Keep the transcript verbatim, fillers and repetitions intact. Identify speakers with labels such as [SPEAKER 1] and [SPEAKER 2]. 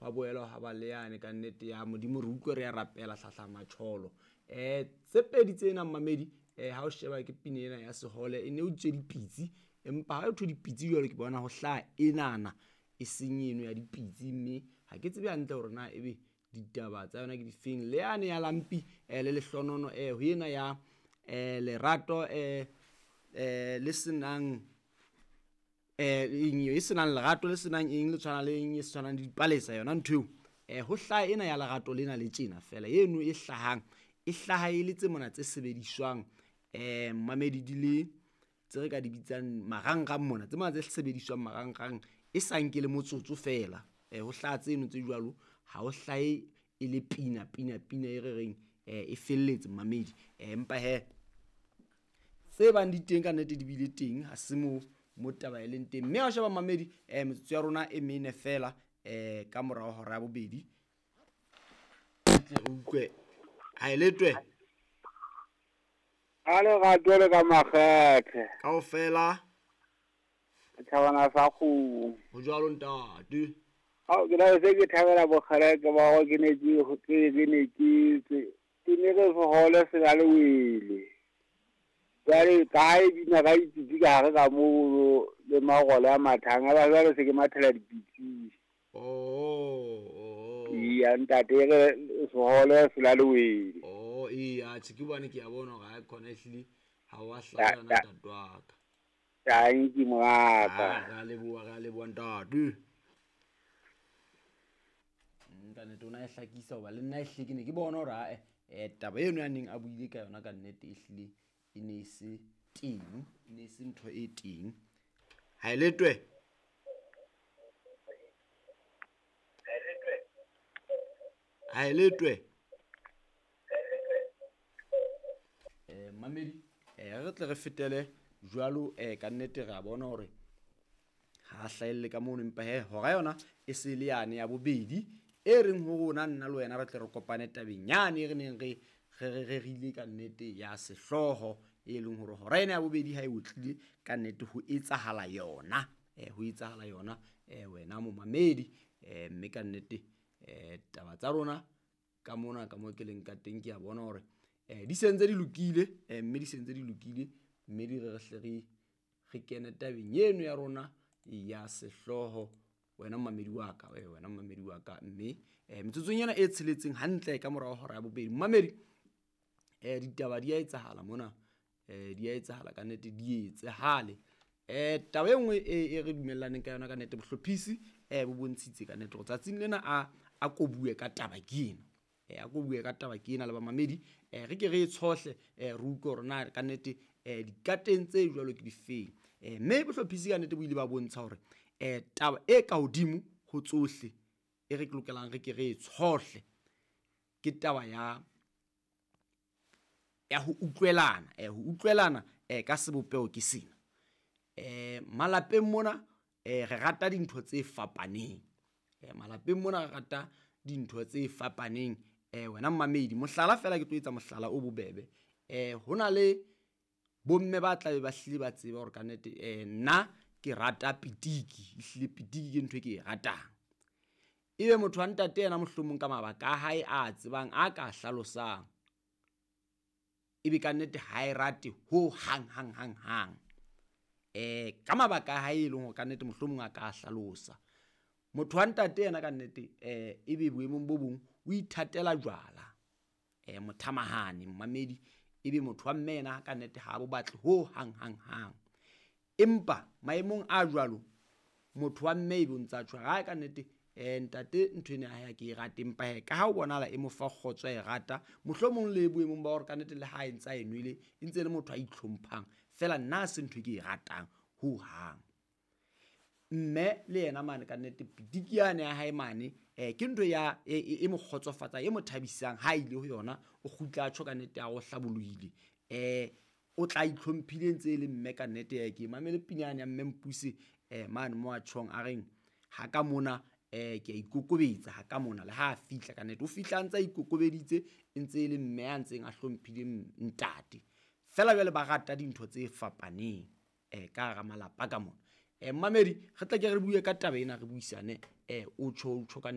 [SPEAKER 1] Hwa boela hwa ba le yane ka nnete ya Modimo re utlwe re ya rapela hlahla matjholo. Eh tse pedi tsena mmamedi eh ha o sheba ke pina ena ya sehole e ne o tswe dipitsi, empa ha o thwe dipitsi jwalo ke bona ho hlaha enana e seng eno ya dipitsi, mme ha ke tsebe hantle hore na ebe ditaba tsa yona ke difeng. Le yane ya lampi eh le lehlonono eh ho ena ya eh lerato eh eh le senang eh eng e senang lerato le senang eng le tshwana le eng e tshwanang le dipalesa yona ntho eo. Eh ho hlaha ena ya lerato lena le tjena fela eno e hlahang e hlaha e le tse mona tse sebediswang eh mmamedi di le tse re ka di bitsang marangrang mona, tse mona tse sebediswang marangrang e sa nke le motsotso fela. Eh ho hlaha tseno tse jwalo, ha ho hlahe e le pina pina pina e re reng eh e felletse mmamedi. Eh empa he tse bang di teng ka nnete di bile teng, ha se mo mo taba e leng teng. Mme ha o sheba mmamedi eh metsotso ya rona e mene fela eh ka morao hora ya bobedi tle re utlwe ha e letwe
[SPEAKER 2] A lerato le ka makgethe
[SPEAKER 1] kaofela
[SPEAKER 2] thabana sa kgomo.
[SPEAKER 1] Ho jwalo ntate.
[SPEAKER 2] Ao ke la se ke thabela bokgeleke ba hore ke ne ke ke ke ne ke ke ne re sehole se na le wele. Jwale kae dina ka dipitsi ka hare ka moo le marole a mathang, a ba jwale se ke mathela dipitsi.
[SPEAKER 1] Oh oh.
[SPEAKER 2] Iya ntate re sehole se na le wele.
[SPEAKER 1] Oh iya tjhe ke bone ke a bona hore ha khona ehlile ha wa hlala yona ntate wa ka.
[SPEAKER 2] Thank you moraka.
[SPEAKER 1] Ra leboha, ra leboha ntate. Ka nnete o na e hlakisa hoba le nna ehlile ke ne ke bona hore ae eh taba eno ya neng a buile ka yona ka nnete ehlile e ne se teng, e ne se ntho e teng. Ha e letwe. Ha e letwe. Eh mamedi eh re tle re fetele jwalo eh ka nnete re a bona hore ha hlahelle ka mono, empa he hora yona e se le yane ya bobedi e reng ho rona nna le wena re tle re kopane tabeng yane e re neng re re rerile ka nnete ya sehlooho e leng hore hora ena ya bobedi ha e otlile ka nnete ho etsahala yona eh ho etsahala yona eh wena momamedi eh mme ka nnete eh taba tsa rona ka mona ka mo ke leng ka teng ke a bona hore eh di sentse di lokile eh mme di sentse di lokile mme di re re hle re re kene tabeng eno ya rona ya sehlooho wena mmamedi wa ka wena mmamedi wa ka. Mme eh metsotsong ena e tsheletseng hantle ka morao hora ya bobedi mmamedi eh ditaba di a etsahala mona eh di a etsahala ka nnete di etsahale. Eh taba e nngwe e re dumellaneng ka yona ka nnete bohlophisi eh bo bontshitse ka nnete hore tsatsing lena a a ko bue ka taba ke ena eh a ko bue ka taba ke ena le bamamedi eh re ke re e tshohle eh re utlwe hore na ka nnete eh dikateng tse jwalo ke difeng. Eh mme bohlophisi ka nnete bo ile ba bontsha hore eh taba e ka hodimo ho tsohle e re lokelang re ke re e tshohle ke taba ya ya ho utlwelana eh ho utlwelana eh ka sebopeho ke sena. Eh malapeng mona eh re rata dintho tse fapaneng eh malapeng mona re rata dintho tse fapaneng eh wena mmamedi mohlala fela ke tlo etsa mohlala o bobebe eh hona le bomme ba tla be ba hlile ba tseba hore ka nnete eh nna ke rata pitiki, ehlile pitiki ke ntho e ke e ratang. Ebe motho wa ntate yena mohlomong ka mabaka a hae a tsebang a ka hlalosang ebe ka nnete ha e rate ho hang hang hang hang eh ka mabaka a hae e leng hore ka nnete mohlomong a ka hlalosa. Motho wa ntate yena ka nnete eh ebe boemong bo bong o ithatela jwala eh mothamahane mmamedi, ebe motho wa mme yena ka nnete ha bo batle ho hang hang hang. Empa maemong a jwalo motho wa mme ebe o ntsa tjho ha ka nnete eh ntate ntho ena ha ke e rate, empa he ka ha o bonahala e mo fa kgotso e rata mohlomong le boemong ba hore ka nnete le ha e ntsa e nwele e ntse le motho a itlhomphang fela nna se ntho e ke e ratang ho hang. Mme le yena mane ka nnete pitiki yane ya hae mane eh ke ntho ya e mo kgotsofatsa e mo thabisang ha ile ho yona o kgutla tjho ka nnete a o hlabolohile eh o tla itlhomphile ntse e le mme ka nnete ya ke mamele pinyane ya mme Mpuse eh mane mo a tjhong a reng ha ka mona eh ke a ikokobetsa ha ka mona le ha a fihla ka nnete o fihla ntse a ikokobeditse ntse e le mme a ntseng a hlomphile ntate fela jwale ba rata dintho tse fapaneng eh ka hara malapa ka mona. Eh mmamedi re tla ke re bue ka taba ena re buisane eh o tjho o tjho ka